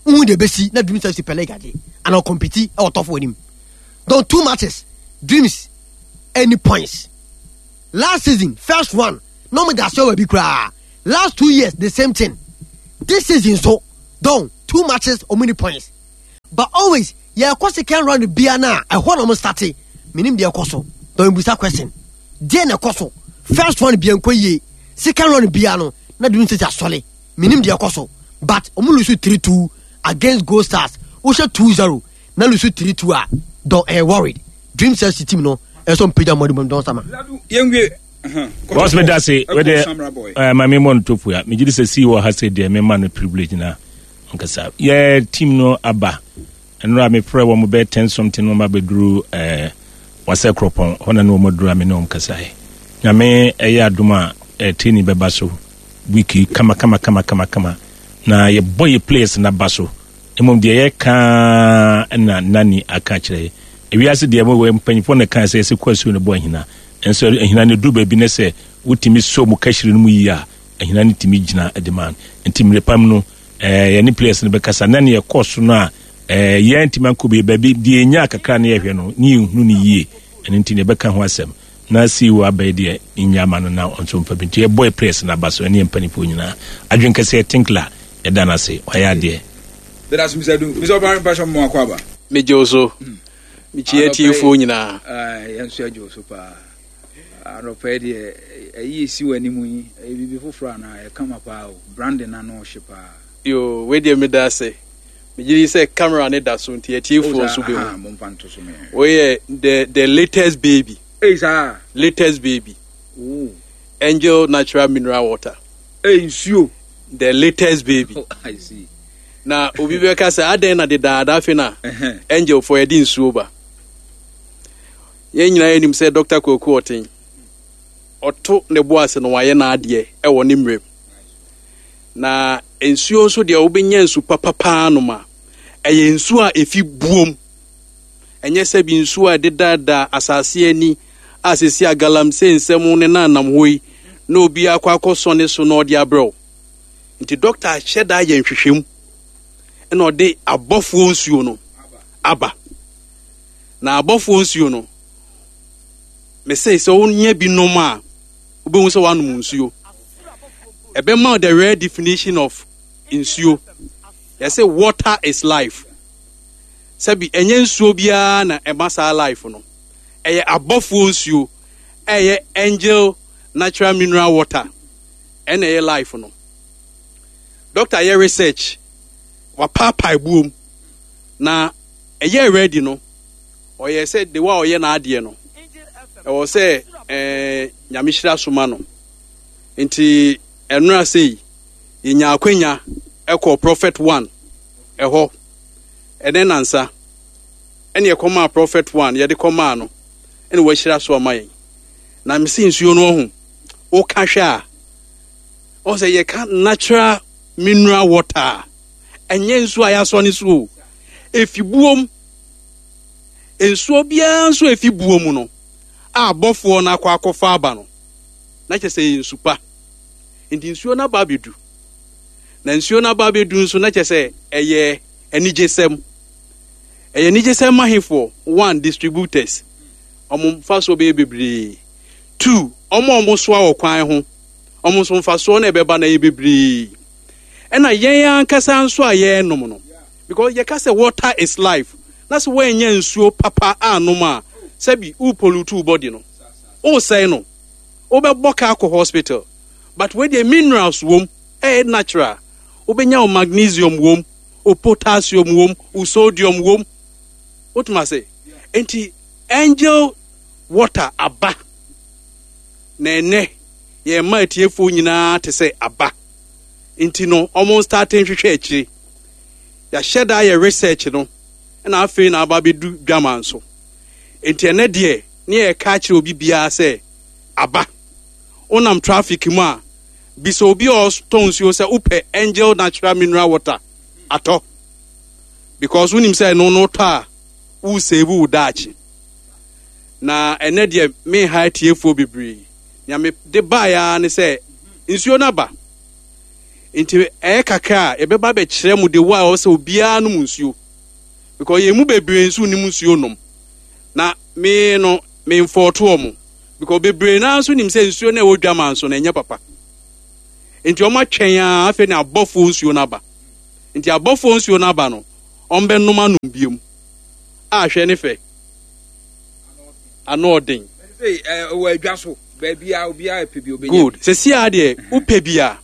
[SPEAKER 5] unhu de besi na Dreams F C pele gade and o compete e o tofo anim. Don, two matches Dreams any points. Last season, first one na ɔmo da aseɛ wɔ bi koraa. Last two years, the same thing. This season so, Don, two matches, ɔmo ni points, but always yɛkɔ second round bia na ɛhɔ na ɔmo start. Menim deɛ ɛkɔ so. Don, ebusa question, deɛ na ɛkɔ so? First round bia nkɔ yie, second round bia no na Dreams F C asɔle. Menim deɛ ɛkɔ so, but ɔmo lose three two against Gold Stars. Wohyɛ two zero na lose three two a, Don, ɛyɛ worried. Dreams F C team no ɛsɛ mpagya mmɔde mu, Don Sama.
[SPEAKER 1] Yɛnwie.
[SPEAKER 6] Boss, me da se wede eh, ma me mmɔ no tofu a megye di sɛ sii wɔ ha sɛ deɛ mema no privilege na nkasa yɛ team no aba. Ɛnora mefrɛ wɔ mo bɛyɛ ten something no, ma bɛduru eh, wasɛ kuropɔn hɔ na ne wɔn aduru a me ne wɔn kasaeɛ. Nyame ɛyɛ adom a, eh, training bɛba so week kama kama kama kama kama na yɛbɔ yɛ players na ba so. Mmom deɛ yɛka na nani aka kyerɛ ewiase deɛ mo mpanyinfoɔ na kan sɛ yɛsɛ kɔ asuo no bɔ ahina nso ahina no duru baabi ne sɛ wotumi so mu kahyire no mu yie a, ahina no tumi gyina de ma no. Nti mmerɛ pam no, ɛɛ yɛne players no bɛkasa na ne yɛkɔ so no a, ɛɛ yɛn ntumi ankɔ baabi baabi deɛ yɛnya kakra ne yɛhwɛ no ne yɛnhunu no yie. Ɛno nti ne yɛbɛka ho asɛm na C E O abɛyɛ deɛ nya ama no na ɔnso mfa bi. Nti yɛbɔ yɛ players no aba so ɛne yɛ mpanimfoɔ nyinaa adwene kɛseɛ. Tinkler, yɛda no ase, wayɛ adeɛ.
[SPEAKER 1] Bɛda so Mister Du, Mister Ɔbare mpahyɛ mo akɔ aba.
[SPEAKER 7] Megye wo so, mekyia atiefoɔ nyinaa.
[SPEAKER 1] Yɛn nso agye wo so paa. Anɔpa yi deɛ, ɛyi esi wɔ anim yi, ɛyɛ biribi foforɔ anaa? Ɛkama paa o, branding na no ɔhye paa.
[SPEAKER 7] Yo, wei deɛ meda ase. Megye di sɛ camera ne da so nti atiefoɔ nso bɛhu.
[SPEAKER 1] Momfa nto so mɛ.
[SPEAKER 7] Woyɛ the the latest baby.
[SPEAKER 1] Ei, saa.
[SPEAKER 7] Latest baby.
[SPEAKER 1] Oh.
[SPEAKER 7] Angel Natural Mineral Water.
[SPEAKER 1] Ei, nsuo.
[SPEAKER 7] The latest baby.
[SPEAKER 1] Oh, I see.
[SPEAKER 7] Na obi bɛka sɛ adɛn na dedaada afei na Angel fo yɛde nsuo ba? Yɛn nyinaa yɛnim sɛ Doctor Kwaku Ɔten ɔto ne bo ase no, wayɛ n'adeɛ ɛwɔ ne mmerɛm. Na nsuo nso deɛ, wobɛnya nsu papapaa nom a, ɛyɛ nsuo a ɛfi buom. Ɛnyɛ sɛ bi nsuo a ɛdedaadaa asase ani a sisi a galamsey nsɛm ne nanam hɔ yi na obi akɔ akɔsɔ ne so na ɔde abrɛw. Nti doctor ahyɛ da ayɛ nhwehwɛmu ɛna ɔde abɔfoɔ nsuo no aba. Na abɔfoɔ nsuo no, mese sɛ wonya bi nom a, wobɛhu sɛ woanom nsuo. Ɛbɛma the rare definition of nsuo. Yɛsɛ water is life. Sɛbi, ɛnyɛ nsuo biara na ɛma saa life no. Ɛyɛ abɔfoɔ nsuo, ɛyɛ Angel Natural Mineral Water ɛna ɛyɛ life no. Doctor yɛ research, wapaapae buom na ɛyɛ ready no, ɔyɛ sɛ de wa ɔyɛ n'adeɛ no ɛwɔ sɛ ɛɛ Nyame hyira so ma no. Nti ɛnora sei yɛnya akwanya ɛkɔ Prophet One ɛhɔ ɛnɛ nansa ɛne ɛkɔmaa Prophet One, yɛde kɔmaa no ɛna wahyira so ama yɛn. Na mesi nsuo no ɔho woka hwɛ a, ɔsɛ yɛka natural mineral water a, ɛnyɛ nsuo a yɛasɔ ne so o, efi buom. Nsuo biara nso efi buom no a abɔfoɔ no akɔ akɔfa aba no na kyerɛ sɛ ɛyɛ nsu pa. Nti nsuo no aba abɛdu, na nsuo no aba abɛdu nso na kyerɛ sɛ ɛyɛ anigyesɛm. Ɛyɛ anigyesɛm ma hefoɔ? One, distributors, ɔmo mfasoɔ bɛyɛ bebree. Two, ɔmo a ɔmo soa wɔ kwan ho, ɔmo nso mfasoɔ no ɛbɛba na ɛyɛ bebree. Ɛna yɛn ankasa nso a yɛrenom no, because yɛka sɛ water is life, na sɛ wɔanya nsuo papa anom a, sɛbi, wo pollute wo body no, wosɛe no, wobɛbɔ ka akɔ hospital. But wei deɛ, minerals wom, ɛyɛ natural. Wobɛnya wo magnesium wom, wo potassium wom, wo sodium wom. Wotuma se nti Angel Water aba na ɛnɛ yɛn mma atiefoɔ nyinaa te sɛ aba. Nti no ɔmo start nhwehwɛ akyire. Yɛahyɛ da yɛ research no ɛna afei na aba abɛdu dwama nso. Nti ɛnɛ deɛ, ne yɛka akyerɛ obi biara sɛ aba. Wonam traffic mu a, bisa obi a ɔtɔn nsuo sɛ wopɛ Angel Natural Mineral Water atɔ, because wonim sɛ ɛno no tɔ a, wosave wo daakye. Na ɛnɛ deɛ, menha atiefoɔ bebree. Nea mede baeɛ ne sɛ nsuo no aba. Nti ɛyɛ kakra a, yɛbɛba bɛkyerɛ mu de wo a ɛwɔ sɛ obiara nom nsuo, because yɛn mu bebree nso nim nsuo nom. Na me no memfɔɔto ɔmo because bebree naa nso nim sɛ nsuo no a ɛwɔ dwama nso no ɛnyɛ papa, nti ɔmo atwɛn a afei na abɔfoɔ nsuo no aba. Nti abɔfoɔ nsuo no aba no, ɔmbɛnom anom biom a hwɛ ne fɛ ano ɔden.
[SPEAKER 1] Wɔ adwa so baabi a obiara pɛ bi obɛnya.
[SPEAKER 7] Good. Sɛsi a deɛ wopɛ bi a,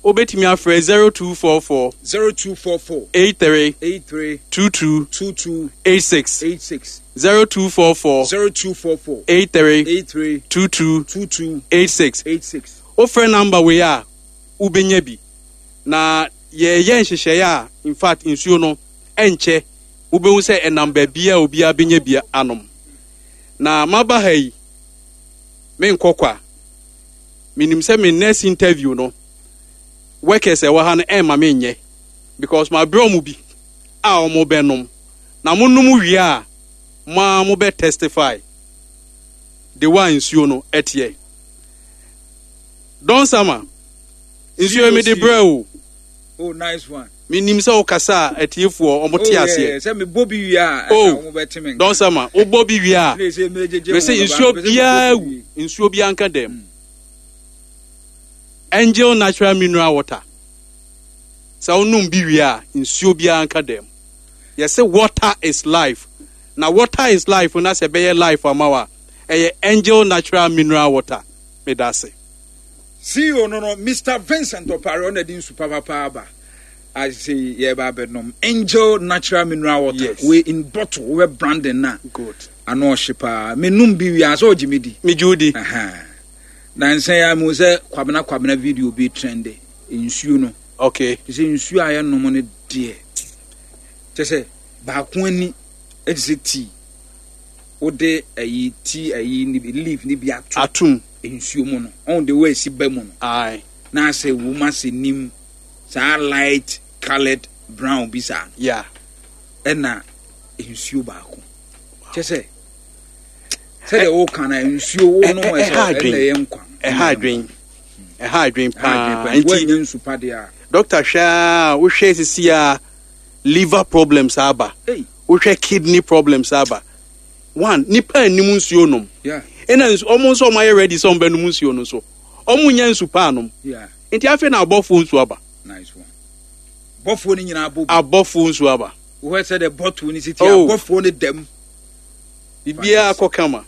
[SPEAKER 7] wobɛtumi afrɛ zero two four four
[SPEAKER 1] zero two four four
[SPEAKER 7] eight three
[SPEAKER 1] eight three
[SPEAKER 7] two two
[SPEAKER 1] two two
[SPEAKER 7] eight six.
[SPEAKER 1] eight six.
[SPEAKER 7] zero two four four
[SPEAKER 1] zero two four four
[SPEAKER 7] eight three
[SPEAKER 1] eight three
[SPEAKER 7] two two
[SPEAKER 1] two two
[SPEAKER 7] eight six.
[SPEAKER 1] eight six.
[SPEAKER 7] Wofrɛ number wei a, wobɛnya bi. Na yɛyɛ nhyehyɛeɛ a, in fact, nsuo no ɛnkyɛ wobɛhu sɛ ɛnam baabi a obiara bɛnya bi anom. Na maba ha yi, menkɔ kwa. Menim sɛ me next interview no, workers ɛwɔ ha no ɛmma menyɛ because mabrɛ ɔmo bi a ɔmo bɛnom. Na monom wie a, mo a mobɛ testify de wa nsuo no ɛteɛ. Don Sama, nsuo yi mede brɛ o.
[SPEAKER 1] Oh, nice one.
[SPEAKER 7] Menim sɛ wokasa a, atiefoɔ ɔmo te
[SPEAKER 1] Oh,
[SPEAKER 7] aseɛ.
[SPEAKER 1] yeah, sɛ mebɔ bi wie a,
[SPEAKER 7] Oh,
[SPEAKER 1] ɛna ɔmo bɛte me nka.
[SPEAKER 7] Don Sama, wobɔ bi wie a,
[SPEAKER 1] Ne sɛ megyegye
[SPEAKER 7] mese
[SPEAKER 1] ho no,
[SPEAKER 7] nsuo
[SPEAKER 1] ba- mepɛ sɛ
[SPEAKER 7] biara
[SPEAKER 1] mebɔ bi
[SPEAKER 7] wu
[SPEAKER 1] wie.
[SPEAKER 7] Nsuo biara nka dɛm. Angel Natural Mineral Water, sɛ wonom bi wie a, nsuo biara nka dɛm. Yɛsɛ water is life, na water is life na sɛ ɛbɛyɛ life ama wo a, ɛyɛ Angel Natural Mineral Water. Meda ase.
[SPEAKER 1] C E O no no Mister Vincent Opare, ɔna de nsu papapa aba ase yɛba abɛnom Angel Natural Mineral Water.
[SPEAKER 7] Yes.
[SPEAKER 1] We in bottle wobɛ branding na
[SPEAKER 7] Good.
[SPEAKER 1] ano ɔhye paa. Menum bi wie a, sɛ ɔgye me di.
[SPEAKER 7] Megye wo di.
[SPEAKER 1] Aha. Na nsɛn ya mu sɛ Kwabena Kwabena video bi trend nsuo no.
[SPEAKER 7] Okay.
[SPEAKER 1] Te sɛ nsuo a yɛnom no deɛ, kyɛ sɛ baako ani ɛte sɛ tea, wode ayi tea ayi ne bi, leaf ne bi ato
[SPEAKER 7] atom
[SPEAKER 1] nsuo mu no, ɔn de wo esi ba mu no
[SPEAKER 7] ae
[SPEAKER 1] na asɛ wom asɛ nim saa light coloured brown bi saa no.
[SPEAKER 7] Yeah
[SPEAKER 1] ɛna nsuo baako kyɛ sɛ sɛdeɛ woka no, nsuo wo nom
[SPEAKER 7] ɛ-
[SPEAKER 1] ɛsɛ
[SPEAKER 7] ɛha adwen.
[SPEAKER 1] ɛna ɛyɛ nkwa.
[SPEAKER 7] Ɛha adwen, ɛha adwen paa.
[SPEAKER 1] Nti
[SPEAKER 7] Nti
[SPEAKER 1] woanya nsu pa deɛ a,
[SPEAKER 7] doctor, hwɛ a wohwɛ sisi a, liver problems aba.
[SPEAKER 1] Ei.
[SPEAKER 7] Wohwɛ, kidney problems aba. One, nipa anim nsuo nom.
[SPEAKER 1] Yeah
[SPEAKER 7] ɛna nsu ɔmo nso ɔmo ayɛ ready sɛ ɔmo bɛnom nsuo no nso, ɔmo nya nsu paa nom.
[SPEAKER 1] Yeah
[SPEAKER 7] nti afei na abɔfoɔ nsuo aba.
[SPEAKER 1] Nice one. Bɔfoɔ no nyinaa bɔ bi.
[SPEAKER 7] Abɔfoɔ nsuo aba.
[SPEAKER 1] Wohwɛ sɛ de bottle no si ti
[SPEAKER 7] Oh.
[SPEAKER 1] abɔfoɔ no dam.
[SPEAKER 7] Biribiara kɔ kama.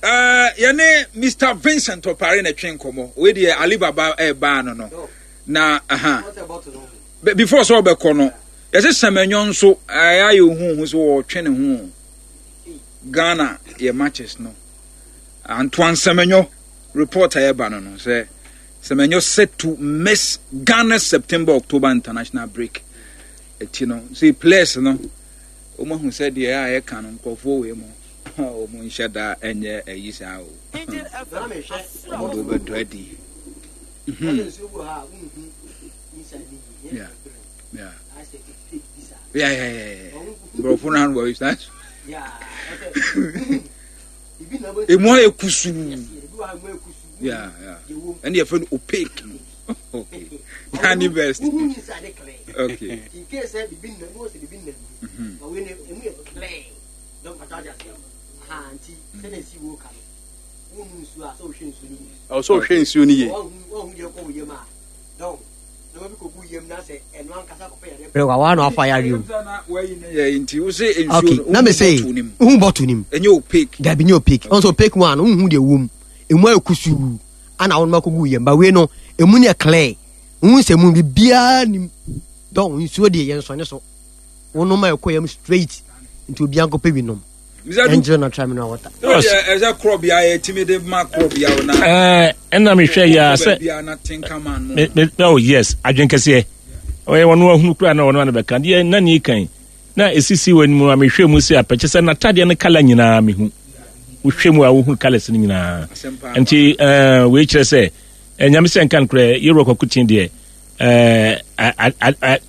[SPEAKER 1] Uh, yɛne Mister Vincent Ɔpare na twe nkɔmmɔ. Wei deɛ, Alibaba ɛɛbaa no no na aha. Be- before sɛ ɔbɛkɔ no, yɛsɛ Sɛmɛnyɔ nso ɛyɛ ayɛ ohuhu sɛ wɔɔtwe ne ho. Ghana yɛ matches no, Antoine Sɛmɛnyɔ report a yɛba no no sɛ Sɛmɛnyɔ set to miss Ghana September October international break. Akyi no sɛ players no wɔn ahu sɛ deɛ a yɛka no, nkurɔfoɔ wei mu wɔn nhyɛ da ɛnyɛ ɛyi saa o, wɔn de wɔbɛdɔ adi. Mhm. Yeah. Yeah. Yeah, yeah, yeah, yeah. Borɔfo no ano wɔ saa emu ayɛ kusuu. Yeah, yeah. Ɛne yɛfrɛ no opaque no. Okay. Danny Best. Okay. Mhm.
[SPEAKER 7] Ɛwɔ sɛ ɔhwɛ nsuo no yie.
[SPEAKER 5] Wa na wafa yare o.
[SPEAKER 1] Yɛ nti wo sɛ nsuo
[SPEAKER 5] Okay.
[SPEAKER 1] no,
[SPEAKER 5] Na me sɛ
[SPEAKER 1] bottle no mu.
[SPEAKER 5] wohu bottle nim.
[SPEAKER 1] Ɛnyɛ opaque.
[SPEAKER 5] Dabi, nyɛ opaque. Ɔnso opaque mu a no, wohu deɛ wɔ mu, emu ayɛ kusuu ana wɔn akɔgu yam ba. Wei no, emu no yɛ clear, wohu sɛ mu biribiara nim dɔn. Nsuo deɛ, yɛn nsɔne so, wonom a, ɛkɔ yam straight. Nti obiara nkɔpɛ bi nom.
[SPEAKER 1] Mr. Du,
[SPEAKER 5] Angel Natural Mineral Water.
[SPEAKER 1] Ɛsɛ ɛsɛ korɔbea yɛtumi de ma korɔbea wo na
[SPEAKER 6] ɛɛ ɛna mehwɛ yi a sɛ
[SPEAKER 1] baabiara na Tinkaman no.
[SPEAKER 6] me me oh yes, adwen kɛseɛ ɔyɛ wɔn ahunu kura na wɔn ano bɛka deɛ na ne kan na esisi wɔ anim a mehwɛ mu sɛ apɛkyɛ sɛ n'atadeɛ no colour nyinaa mehu. Wohwɛ mu a, wohu colours no nyinaa.
[SPEAKER 1] Asɛmpa.
[SPEAKER 6] Nti ɛɛ wei kyerɛ sɛ ɛnyame sɛ nka nokorɛ yɛwura Kwaku deɛ ɛɛ a a a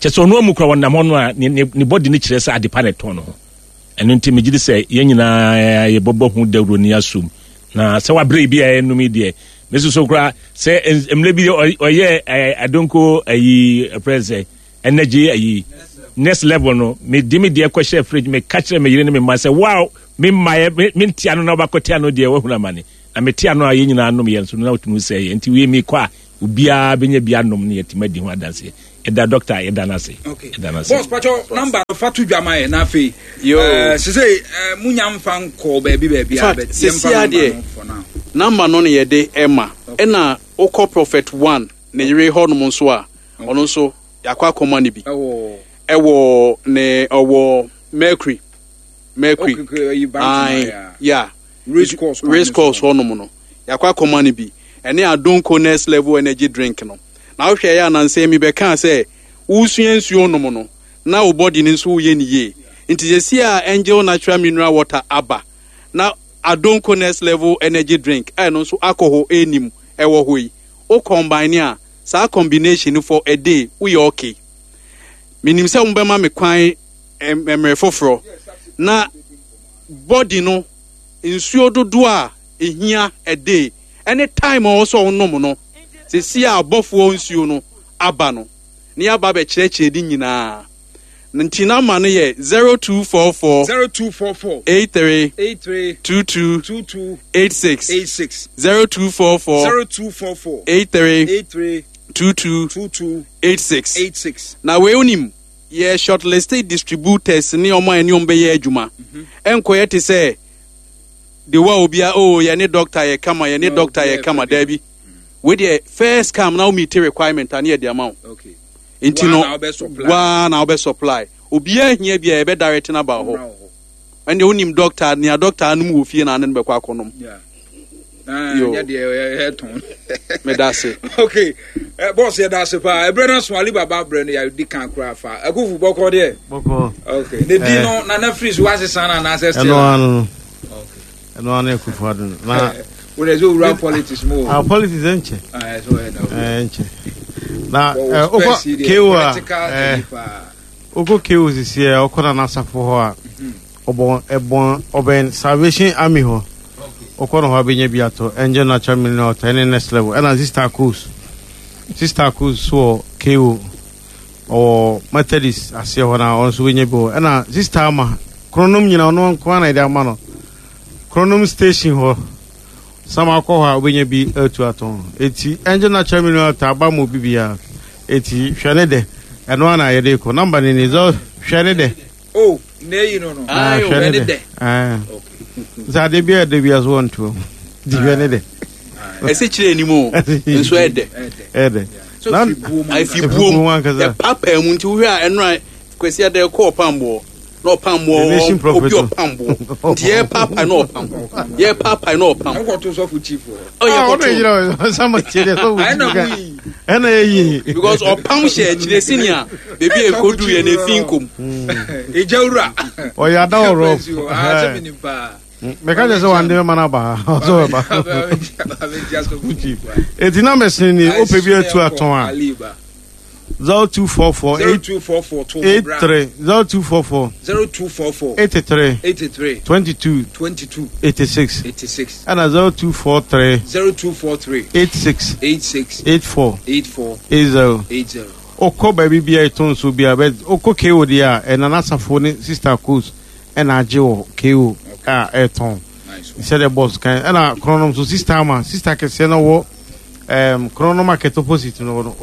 [SPEAKER 6] kyɛ sɛ ɔno amu kora wɔnam hɔ no a, ne ne ne bɔdi no kyerɛ sɛ adepa na ɛtɔn no ho. Ɛno nti megye di sɛ yɛn nyinaa yɛbɛbɔ ho dawuro ne asom na sɛ wabrɛ bi a ɛnum yi deɛ, me soso koraa sɛ mmerɛ bi ɔyɛ adonko ayi ɛprɛ sɛ energy ayi. Next Level no, mede me deɛ kɔhyɛ fridge, meka kyerɛ me yere ne me mma sɛ wow, me mmaeɛ me mente ano na wobakɔte ano deɛ, woahunu amane. Na mete ano a, yɛn nyinaa nom yɛn nso no na wotumi sɛ yɛ nti wie mekɔ a, obiara bɛnya bi anom ne yɛtumi adi ho adanseɛ. Yɛda doctor, yɛda no ase.
[SPEAKER 1] Okay.
[SPEAKER 6] Yɛda no ase.
[SPEAKER 1] Boss, patro number no fa to dwa ma yɛ na afei.
[SPEAKER 7] Yo.
[SPEAKER 1] Eh, sese eh, munya mfa nkɔ baabi baabi a
[SPEAKER 7] In fact,
[SPEAKER 1] but
[SPEAKER 7] sisi
[SPEAKER 1] yɛmfa number
[SPEAKER 7] adeɛ.
[SPEAKER 1] no for now.
[SPEAKER 7] Number no ne yɛde ɛma, ɛna wokɔ Prophet One ne yere hɔnom nso a, ɔno nso yɛakɔ akɔma no bi.
[SPEAKER 1] Ɛwɔ
[SPEAKER 7] Ɛwɔ ne ɔwɔ Mercury Mercury.
[SPEAKER 1] Okay, okay, ɛyi Bantama
[SPEAKER 7] Aye,
[SPEAKER 1] ya.
[SPEAKER 7] yeah.
[SPEAKER 1] Race course kwan
[SPEAKER 7] Race
[SPEAKER 1] no
[SPEAKER 7] course
[SPEAKER 1] so.
[SPEAKER 7] hɔnom no, yɛakɔ akɔma no bi, ɛne Adonko Next Level energy drink no. Na wohwɛ yɛ anansɛ mi bɛkaa sɛ wosua nsuo nom no na wo body no nso woyɛ ne yie, nti sɛsi a Angel Natural Mineral Water aba na Adonko Next Level energy drink a ɛno nso alcohol ɛnim ɛwɔ hɔ yi, wo combine a, saa combination no for a day woyɛ okay. Menim sɛ mobɛma me kwan ɛm- mmerɛ foforɔ na body no nsuo dodoɔ a ehia a day ɛne time a ɔwɔ sɛ ɔnom no, sisi a abɔfoɔ nsuo no aba no ne yaba abɛkyerɛkyerɛ ne nyinaa. Nti number no yɛ zero two four four
[SPEAKER 1] zero two four four
[SPEAKER 7] eight three
[SPEAKER 1] eight three
[SPEAKER 7] two two
[SPEAKER 1] two two
[SPEAKER 7] eight six.
[SPEAKER 1] eight six.
[SPEAKER 7] zero two four four
[SPEAKER 1] zero two four four
[SPEAKER 7] eight three
[SPEAKER 1] eight three
[SPEAKER 7] two two
[SPEAKER 1] two two
[SPEAKER 7] eight six.
[SPEAKER 1] eight six.
[SPEAKER 7] Na wei onim yɛ shortlisted distributors ne ɔmo a ɛne ɔmo bɛyɛ adwuma. Ɛnkɔyɛ te sɛ de wa obia o yɛne doctor yɛ kama, yɛne
[SPEAKER 1] No,
[SPEAKER 7] doctor yɛ
[SPEAKER 1] obiara
[SPEAKER 7] kama.
[SPEAKER 1] yɛ fɛ bi.
[SPEAKER 7] Daabi, wei deɛ first come na wo meet requirement a ne yɛde ama wo.
[SPEAKER 1] Okay.
[SPEAKER 7] Nti
[SPEAKER 1] Waa
[SPEAKER 7] no
[SPEAKER 1] na wobɛ supply.
[SPEAKER 7] Waa na wobɛ supply. Obiara hia bi a, yɛbɛ direct no aba hɔ.
[SPEAKER 1] Mmra wɔ hɔ.
[SPEAKER 7] Ɛndeɛ wonim doctor, nea doctor anom wɔ fie na ane no bɛkɔ akɔnom.
[SPEAKER 1] Yeah. Ah,
[SPEAKER 7] Yo.
[SPEAKER 1] nyɛ deɛ ɛyɛ tɔn.
[SPEAKER 7] Meda ase.
[SPEAKER 1] Okay. Eh, boss, yɛda ase paa. Ɛberɛ no so Alibaba berɛ no yɛdi kan koraa fa. Akufu bɔkɔ deɛ.
[SPEAKER 8] Bɔkɔ.
[SPEAKER 1] Okay. Ne din
[SPEAKER 8] Eh.
[SPEAKER 1] no Nana firi so wasesa no anaasɛ still?
[SPEAKER 8] Ɛno ano no.
[SPEAKER 1] Okay.
[SPEAKER 8] Ɛno ano Akufo Addo no. Na
[SPEAKER 1] Wo de sɛ owura politics mu o.
[SPEAKER 8] Ah, politics ɛnkyɛ.
[SPEAKER 1] Ah, ɛsɛ ɔyɛ da.
[SPEAKER 8] Ɛnkyɛ. Na
[SPEAKER 1] Wɔwɔ
[SPEAKER 8] ɛ, wokɔ
[SPEAKER 1] spurs yi deɛ,
[SPEAKER 8] K O a
[SPEAKER 1] political
[SPEAKER 8] ɛ,
[SPEAKER 1] thingy paa.
[SPEAKER 8] wokɔ K O sisi ɛ, ɔkɔ Nana Asafo hɔ a, ɔbɔn ɛbɔn ɔbɛn Salvation Army hɔ. Wokɔ no hɔ abɛnya bi atɔ Angel Natural Mineral Water ɛne Next Level. Ɛna Sister Coast, Sister Coast so wɔ K O, ɔwɔ Methodist aseɛ hɔ na ɔno nso bɛnya bi wɔ. Ɛna Sister Ama Kronom nyina, ɔno nko ara na yɛde ama no Kronom station hɔ sama akɔ hɔ a, wobɛnya bi atu atɔn. Eti Angel Natural Mineral Water aba ma obi biara, eti hwɛ ne dɛ, ɛno ara na yɛde kɔ. Number ne ni zɛ hwɛ ne dɛ.
[SPEAKER 1] Oh, na eyi no no.
[SPEAKER 8] Ah,
[SPEAKER 7] Ayo,
[SPEAKER 8] hwɛ ne
[SPEAKER 1] ne
[SPEAKER 8] dɛ.
[SPEAKER 1] dɛ.
[SPEAKER 8] Ah.
[SPEAKER 1] Okay.
[SPEAKER 8] Sɛ ade bi a ɛdɛ bi a so wɔntoa mu nti hwɛ ne dɛ.
[SPEAKER 7] Ɛsɛ kyerɛ anim o, nso ɛdɛ.
[SPEAKER 1] Ɛdɛ.
[SPEAKER 8] Ɛdɛ.
[SPEAKER 1] So
[SPEAKER 8] Na-
[SPEAKER 1] firi buo mu
[SPEAKER 7] afi
[SPEAKER 1] ankasa.
[SPEAKER 8] Efi buo
[SPEAKER 7] buom
[SPEAKER 8] mu ankasa.
[SPEAKER 7] Yɛpapaa mu nti wohwɛ a, ɛnora Kwasi Adɛ kɔ ɔpamboɔ na
[SPEAKER 8] The Nation
[SPEAKER 7] ɔpamboɔ
[SPEAKER 8] Prophet
[SPEAKER 7] obi
[SPEAKER 8] no.
[SPEAKER 7] ɔpamboɔ nti yɛpapae na ɔpam, yɛpapae na ɔpam.
[SPEAKER 1] Wokɔto sɔfo chief wɔ hɔ.
[SPEAKER 7] Ɔyɛ
[SPEAKER 8] Ah, ɔno
[SPEAKER 7] kɔto
[SPEAKER 8] yɛ gyina sama tie deɛ sɛ
[SPEAKER 1] Ɛna
[SPEAKER 8] wo
[SPEAKER 1] mo yi.
[SPEAKER 8] ɛna yɛ yie.
[SPEAKER 7] Because ɔpam hyɛ akyire senia beebi a ekodu yɛ na efi nkom.
[SPEAKER 1] Ìjà wura.
[SPEAKER 8] Ɔyɛ ada wɔ rɔ.
[SPEAKER 1] Ah, sɛ mi nim paa.
[SPEAKER 8] Mɛka kyerɛ sɛ wande bɛma no aba ha, ɔsɛ ɔbɛba.
[SPEAKER 1] Chief.
[SPEAKER 8] Eti na mɛsene ni wopɛ bi atu atɔn a, zero two four four
[SPEAKER 1] Zero
[SPEAKER 8] eight
[SPEAKER 1] two four four two
[SPEAKER 8] eight three zero two four four
[SPEAKER 1] zero two four four
[SPEAKER 8] eighty three
[SPEAKER 1] eighty three
[SPEAKER 8] twenty two
[SPEAKER 1] twenty two
[SPEAKER 8] eighty six
[SPEAKER 1] eighty six
[SPEAKER 8] ɛna zero two four three
[SPEAKER 1] zero two four three
[SPEAKER 8] eight six
[SPEAKER 1] eight six
[SPEAKER 8] eight four
[SPEAKER 1] eight four
[SPEAKER 8] eight zero.
[SPEAKER 1] eight zero.
[SPEAKER 8] Wokɔ baabi bia ɛtɔ nsuo bia bɛ wokɔ K O deɛ a, ɛna n'asafo ne Sister Coast ɛna agye wɔ K O a ɛtɔn.
[SPEAKER 1] Nice one.
[SPEAKER 8] Sɛdeɛ boss kan, ɛna Kronom so, Sister Ama, sister kɛseɛ no wɔ ɛɛm Kronom market opposite no no.